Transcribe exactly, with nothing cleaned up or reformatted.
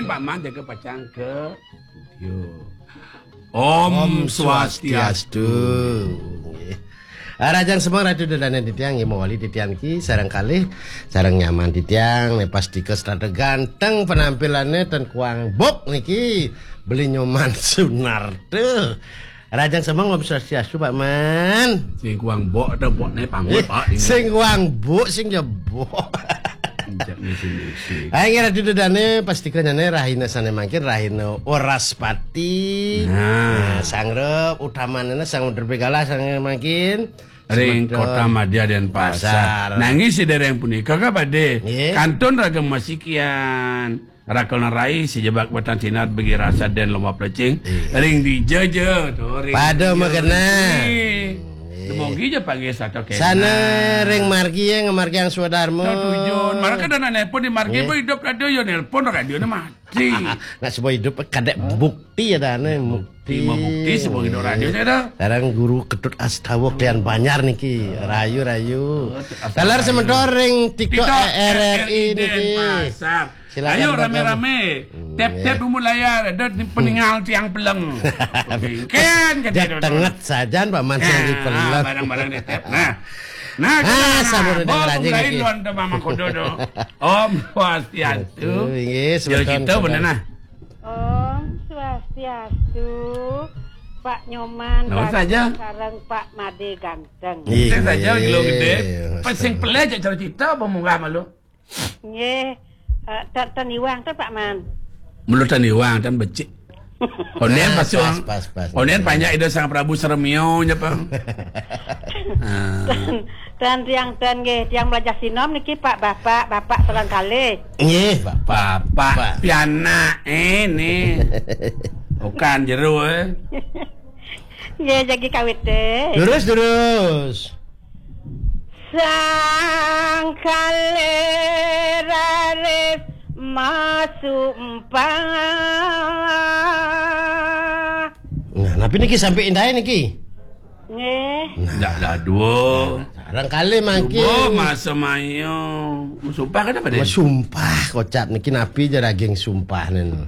Pak Man jaga pacang ke studio. Om Swastiastu. Nggih. Ah, rahajeng semeng Ratu Ida Dane titiang, nggih, mawali titiang niki sareng kalih, sareng nyaman titiang, nih, pastika serata ganteng penampilane ten kuang bok niki, Beli Nyoman Sunarta. Rahajeng semeng Om Swastiastu, Pak Man. Sing kuang bok atau bok ne pangul, Pak? Sing kuang bok, sing jebok. Injak misi-misi. Ayo, nggih, Ratu Ida Dane, pastika nyane rahina sane mangkin, rahina Wraspati. Nah. Nah, sangrep utamanana sang Drepegala sane mangkin. Ring Semeton. Kota Madya Denpasar. Pasar. Nanging sedereng punika ka badhe. Nggih. Kantun raga masikian. Rakel nerai si jebak wetan sinar begi rasa den lomba plecing. Iya. Ring dija ja to, ring pada dija, magena. Ring dija. Iya. Dumogi ja panggih sato kena. Sana ring margi ya, ngamargiang swadarma. Tujuan. Mara kada nelpon di margi, iya, apa hidup radio ya, nelpon radio na mati. Nah, semua hidup kadek bukti ya, dane. Bukti, mau bukti, semua hidup radio saya dah. Sekarang Guru Ketut Astawa Klian Banjar niki. Rayu, rayu. Oh, Astawa. Taler semeton ring TikTok, TikTok R R I R R I niki. Denpasar. Silakan, ayo, Pak, rame-rame. Hmm, tap-tap, iya, umur layar, ada di peninggal tiang peleng. Oke, kan, kan. Jak dia tenget sajan, Pak Man, sing di peleng. Barang-barang di tap. Nah. Nah, ah, kita, sampun nah, undang bawa rajin pemulai lagi. Luar tu Mamang Kodo tu. Om Swastiastu. Betul, nggih, ya, semeton kita bener, nah. Om Swastiastu, Pak Nyoman. Nah, saja. Sareng Pak Made ganteng. Iya, sing saja, iya, gelo gede. Iya, pas sing peleh aja cerita apa munggah malu. Nggih, eh, ten, ten iwang to, Pak Man. Mula ten iwang, ten becik. Onden, nah, pas, pas, pas, pas. Onden panjak Ida Sang Prabu Sremio nya, Pak. Ah. Ten, ten tiang ten nggih, tiang belajar sinom niki, Pak, Bapak, Bapak sareng kalih. Nggih, Bapak. Bapak, Pak. Pianak ini. Bukan jero, eh. Nggih, jagi kawit, eh. Terus, terus. Sang kalih raris masumpah. Nah, napi niki sampai indahe niki? Nggih. Nah. Ndak dadua. Sareng kalih mangkin. Subuh masa mayo. Sumpah kada pada? Sumpah kocap niki napi ja daging sumpah nen.